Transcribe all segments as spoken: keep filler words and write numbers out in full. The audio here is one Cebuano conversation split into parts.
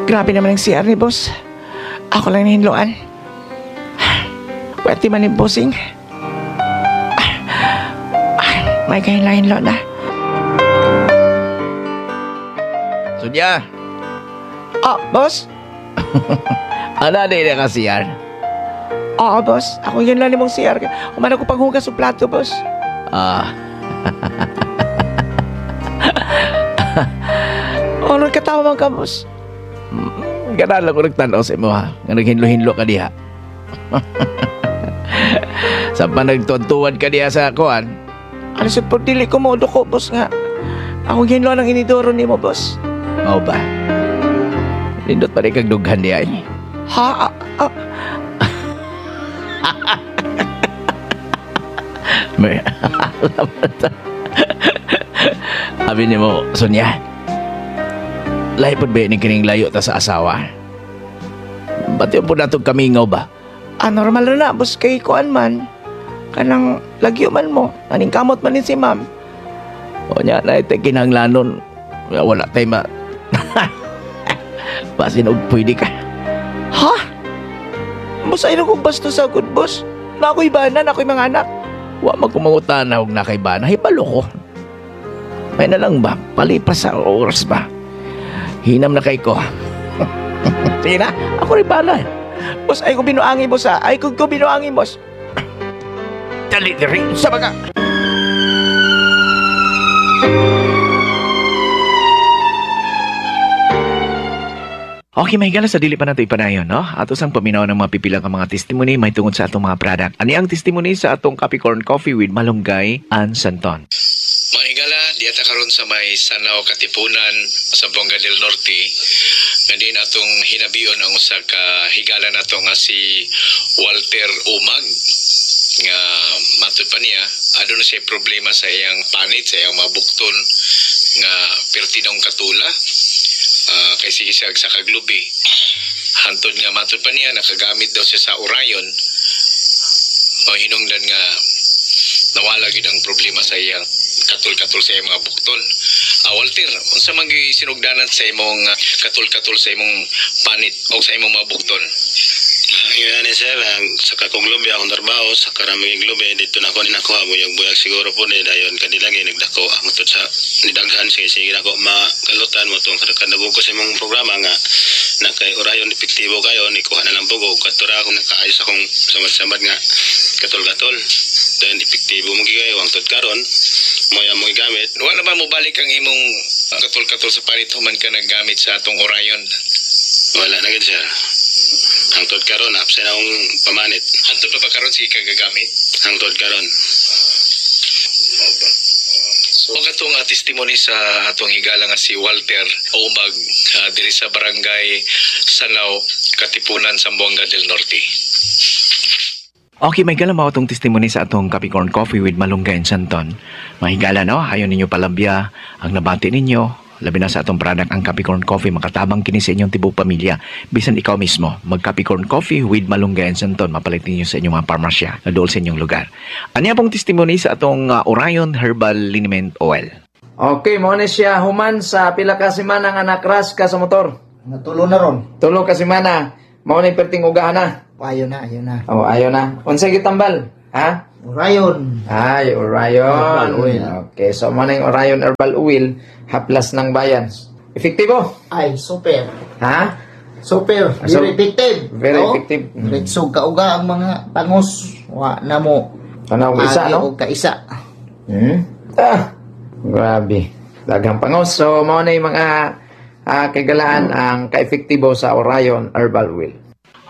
Grabe naman ang C R ni boss. Ako lang nahinloan. Pwede man ni bossing. Ah, may kahinla-hinlo na. Sonya, Ah, boss? Ana di na ka C R? Oo, boss. Ako yun lang nimong C R. Human ako panghugas sa plato, boss. Ah, Ano katawa man ka, boss? Ganahan lang ko nagtanaw sa imo ha. Nga naghinlo-hinlo ka diha. Sa pa nagtuwan ka diha sa kuan. Ano sa pagdili ko mo ko, boss nga. Ako hinlo ng inidoro nimo, boss. Mao ba? Lindot pa rin kag dughan diha eh. Ha? Ah, ah. May Abi nimo, Sonya. Lahi pod ba ni kining layo ta sa asawa? Ba't yung po natong kamingaw ba? Ah, normal na na, boss. Kay kuan man. Kanang lagyo man mo. Aning kamot man din si ma'am. O nya na ito kinahanglanon. Wala tayo ma... Basin og pwede ka. Ha? Boss, ay kong basto sa good, boss. Na ako'y bana, na ako'y mga anak. Wa magkumangutan na og nakaibana. Hibalo ko. May na lang ba? Palipas sa oras ba? Hinam na kay ko. Sige na, ako rin bala. Boss, ay ko binuangi, boss, ha? Ay ko ko binuangi, boss. Dali, dali, sa mga... Okay, mahigala sa dili pa nato ipanayon, no? Ato sang paminaw ng mga pipilang ka mga testimony may tungod sa atong mga product. Ani ang testimony sa atong Capricorn Coffee with Malunggay and Santon. Mga higala, diya ta karon sa may Sanao Katipunan sa Bonga del Norte. Nga din atong hinabion ang usa ka higala nato nga si Walter Umag nga matud pa niya aduna siya problema sa iyang panit, sa iyang mga bukton nga pertinong katula. Ah, kay sige siya sa kaglubi. Hantod nga matud pa niya nakagamit daw siya sa Orion. Mao hinungdan nga nawala gyud ang problema sa iyang katul-katul sa iyang mga bukton. Ah, Walter, unsa man gyud sinugdanan sa imong ah, katul-katul sa imong panit o sa imong mga bukton? Ngayon ni sir, ang sa kakong lubi akong trabaho, sa karaming lubi, dito na ako ni nakuha, buyag-buyag siguro po ni dayon kadilagi nagdako ang tut sa nidaghan sige sige nako makalutan mo tong kadagog ko sa imong programa nga na kay Orion epektibo kayo ni kuha na lang bugo katura ako nakaayos akong samad-samad nga katol-katol dayon epektibo mo kayo ang tut karon mo ya mo gigamit. Wala ba mo balik ang imong katul-katul sa panit human ka naggamit sa atong Orion? Wala na gid, sir. Ang tut karon absent akong pamanit. Hantod pa ba karon sige ka gagamit? Ang tut karon. Mao ba? So, katong uh, testimony sa atong higala nga si Walter Umag ah, diri sa barangay Sanao, Katipunan, Zamboanga del Norte. Okay, may gala mao atong testimony sa atong Capricorn Coffee with Malunggay and Santon. Mahigala, no? Ayon ninyo palabya ang nabati ninyo. Labi na sa atong product ang Capricorn Coffee, makatabang kini sa inyong tibuok pamilya. Bisan ikaw mismo, mag Capricorn Coffee with Malunggay and Santon, mapalit ninyo sa inyong mga parmasya na dool sa inyong lugar. Anya pong testimony sa atong uh, Orion Herbal Liniment Oil. Okay, mo ni siya human sa pila ka semana nga nakras ka sa motor. Natulo na ron. Tulo ka semana, mao ni perting ugahan na. Ayo na, ayo na. Oh, ayo na. Unsay gitambal? Ha? Orion. Ay, Orion. Herbal oil. Okay, so mo na yung Orion Herbal Oil, haplas ng bayan. Epektibo? Ay, super. Ha? Super. So, Very effective. very No? effective. Mm. Diretso kauga ang mga pangos. Wa na mo. Tanaw isa, Agi no? og kaisa. Hmm? Ah, grabe. Daghang pangos. So, mao na yung mga ah, kagalaan ang kaepektibo sa Orion Herbal Oil.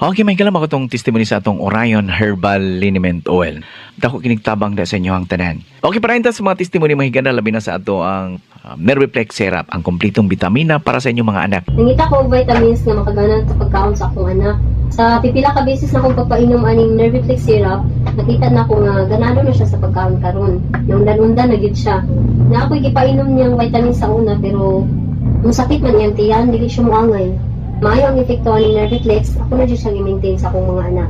Okay, may kalam ako tong testimony sa atong Orion Herbal Liniment Oil. Dako kinigtabang da sa inyo ang tanan. Okay, para sa mga testimony mahigana, labi na sa ato ang uh, Nerviplex Syrup, ang kompletong bitamina para sa inyong mga anak. Nangita ko og vitamins nga makaganan sa pagkaon sa akong anak. Sa pipila ka beses na akong pagpainom aning Nerviplex syrup, nakita na ko nga ganado na siya sa pagkaon karon. Naundan-undan na gyud siya. Na ako'y gipainom niyang vitamins sa una pero musakit man iyang tiyan, dili siya moangay. Maayo ang epekto aning Nerviplex, ako na jud siyang i-maintain sa akong mga anak.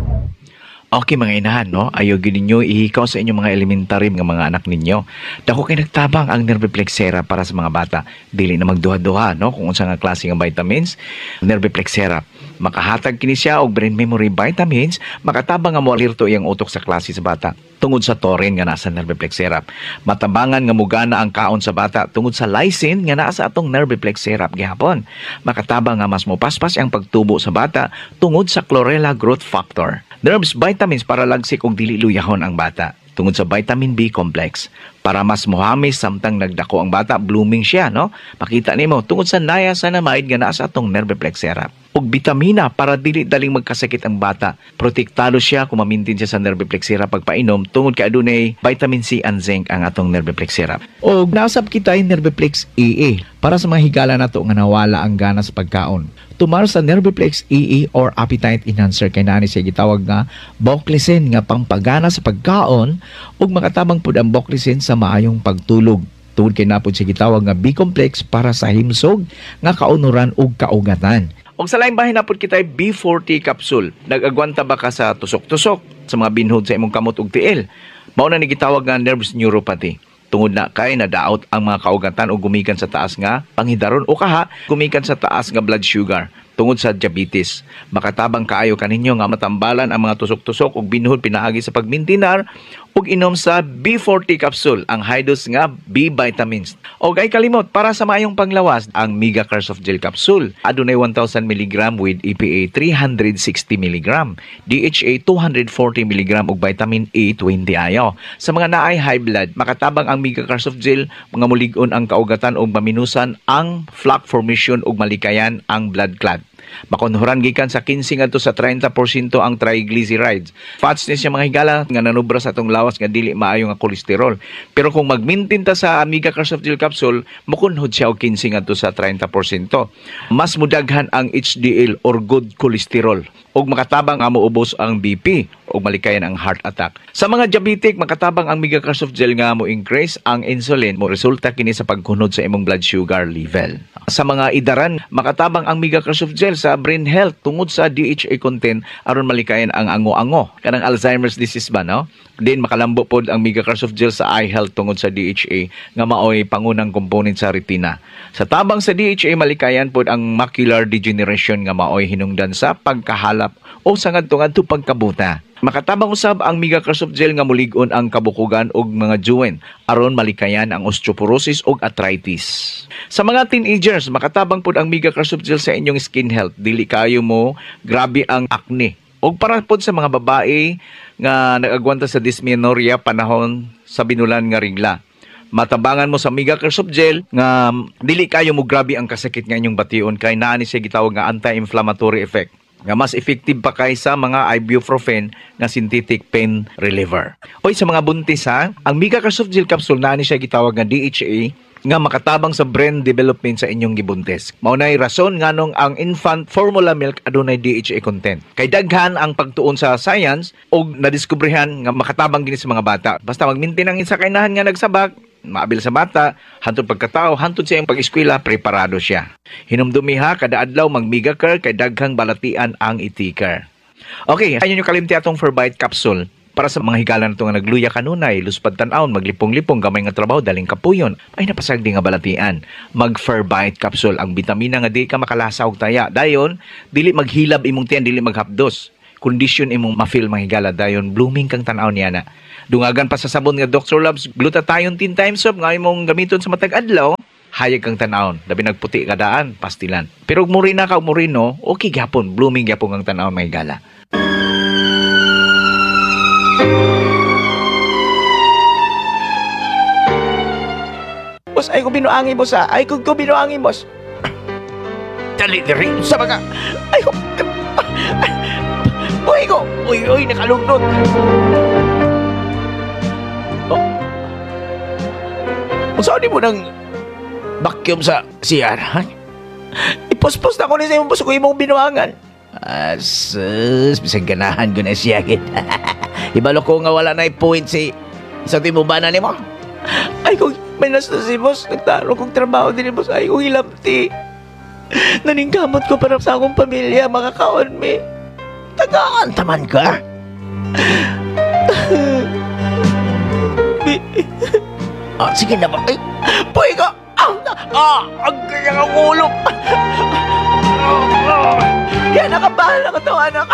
Okay mga inahan, no? Ayaw gyud ninyo ihikaw sa inyong mga elementary nga mga anak ninyo. Dako kay nagtabang ang Nerviplex syrup para sa mga bata. Dili na magduha-duha, no? Kung unsa nga klase nga vitamins, Nerviplex syrup. Makahatag kini siya og brain memory vitamins, makatabang nga moalerto iyang utok sa klase sa bata tungod sa taurine nga nasa Nerviplex syrup. Matabangan nga mugana ang kaon sa bata tungod sa lysine nga naa sa atong Nerviplex syrup gihapon. Makatabang nga mas mopaspas ang pagtubo sa bata tungod sa chlorella growth factor. Nerves vitamins para lagsik og dili luyahon ang bata tungod sa vitamin B complex para mas mohamis samtang nagdako ang bata blooming siya no makita nimo tungod sa niacinamide nga naa sa atong Nerviplex syrup ug bitamina para dili daling magkasakit ang bata protektado siya kung ma-maintain siya sa Nerviplex syrup pagpainom tungod kay adunay vitamin C and zinc ang atong Nerviplex syrup ug nausab kita yung Nerviplex EE para sa mga higala nato nga nawala ang gana sa pagkaon tumar sa Nerviplex EE or appetite enhancer kay naa ni siya gitawag nga Boclicin nga pampagana sa pagkaon ug makatabang pud ang Boclicin sa maayong pagtulog tungod kay naa pod siya gitawag nga B-complex para sa himsog nga kaunuran ug kaugatan. Og sa laing bahin na pod kita B forty capsule. Nag-agwanta ba ka sa tusok-tusok sa mga binhod sa imong kamot ug tiil? Mao na ni gitawag nga nerves neuropathy. Tungod na kay nadaot ang mga kaugatan o gumikan sa taas nga panghidaron o kaha gumikan sa taas nga blood sugar tungod sa diabetes. Makatabang kaayo kaninyo nga matambalan ang mga tusok-tusok ug binhod pinaagi sa pagmintinar ug inom sa B forty capsule ang high dose nga B vitamins. Og ay kalimot para sa maayong panglawas ang Mega Care Soft Gel capsule. Adunay one thousand milligram with E P A three hundred sixty milligram, D H A two hundred forty milligram ug vitamin E twenty ayo. Sa mga naay high blood, makatabang ang Mega Care Soft Gel mga mulig-on ang kaugatan ug maminusan ang plaque formation ug malikayan ang blood clot. Makunhuran gikan sa kinse ngadto sa treinta porsyento ang triglycerides. Fats ni siya mga higala nga nanubra sa atong lawas nga dili maayo nga kolesterol. Pero kung magmintin ta sa Mega Care Soft Gel capsule, mukunhod siya og kinse ngadto sa treinta porsyento. Mas mudaghan ang H D L or good cholesterol ug makatabang nga moubos ang B P ug malikayan ang heart attack. Sa mga diabetic, makatabang ang Mega Care Soft Gel nga mo increase ang insulin, mo resulta kini sa pagkunod sa imong blood sugar level. Sa mga idaran, makatabang ang Mega Care Soft Gel sa brain health tungod sa D H A content aron malikayan ang ango-ango kanang Alzheimer's disease ba no? Din makalambo pod ang Mega Care Soft Gel sa eye health tungod sa D H A nga maoy pangunang component sa retina. Sa tabang sa D H A malikayan pod ang macular degeneration nga maoy hinungdan sa pagkahalap o sa ngadto-ngadto pagkabuta. Makatabang usab ang Mega Care Soft Gel nga mulig-on ang kabukugan og mga joint aron malikayan ang osteoporosis ug arthritis. Sa mga teenagers, makatabang pod ang Mega Care Soft Gel sa inyong skin health. Dili kayo mo grabe ang acne. Og para pod sa mga babae nga nag-agwanta sa dysmenorrhea panahon sa binulan nga regla. Matabangan mo sa Mega Care Soft Gel nga dili kayo mo grabe ang kasakit nga inyong bation kay naa ni siya gitawag nga anti-inflammatory effect nga mas effective pa kaysa mga ibuprofen nga synthetic pain reliever. Oy, sa mga buntis ha, ang Mega Care Soft Gel capsule naa ni siya gitawag nga D H A nga makatabang sa brain development sa inyong gibuntis. Mao nay rason nganong ang infant formula milk adunay D H A content. Kay daghan ang pagtuon sa science og nadiskubrehan nga makatabang gini sa mga bata. Basta magmintin ang isa kainahan nga nagsabak, maabil sa bata, hantod pagkatao, hantod sa iyang pag-eskwela, preparado siya. Hinumdumi ha, kada adlaw mag-Mega Care kay daghang balatian ang itikar. Okay, ayun yung kalimti atong Ferbite capsule. Para sa mga higala na ito nga nagluya kanunay, luspad tan-awon, maglipong-lipong, gamay nga trabaho, daling kapuyon, ay napasagdi nga balatian. Mag-Ferbite capsule, ang bitamina nga di ka makalasa og taya. Dayon, dili maghilab imong tiyan, dili maghapdos. Kondisyon imong ma-feel mga higala, dayon blooming kang tan-aw niya na. Dungagan pa sa sabon nga Doctor Labs glutathione ten times soap nga imong gamiton sa matag adlaw, hayag kang tan-awon. Labi nagputi ka daan, pastilan. Pero ug murina ka, murino, okay gyapon, blooming gyapon kang tan-awon mga higala. Boss, ay ko binuangi, boss, ha? Ay ko ko binuangi, boss. Dali, diri sa mga... Ay ko... Buhay ko! Uy, uy, nakalugnot! Oh. Unsa ni mo nang vacuum sa C R, ha? Ipospos na ko ni sa imong boss ko imong binuangan. Asus, bisag ganahan ko na siya, gid. Ibalo ko nga wala na point si sa timubana nimo. Ay kung may nasa si boss, nagtaro kong trabaho din ni boss, ay kong hilamti. Naningkamot ko para sa akong pamilya, makakaon mi. Tagaan taman ka. Bi- Ah, sige na ba? Ay, puy ka! Ah, ah, ang kanyang ang ulo! Ah, ah. Kaya nakabahala ka to, anak.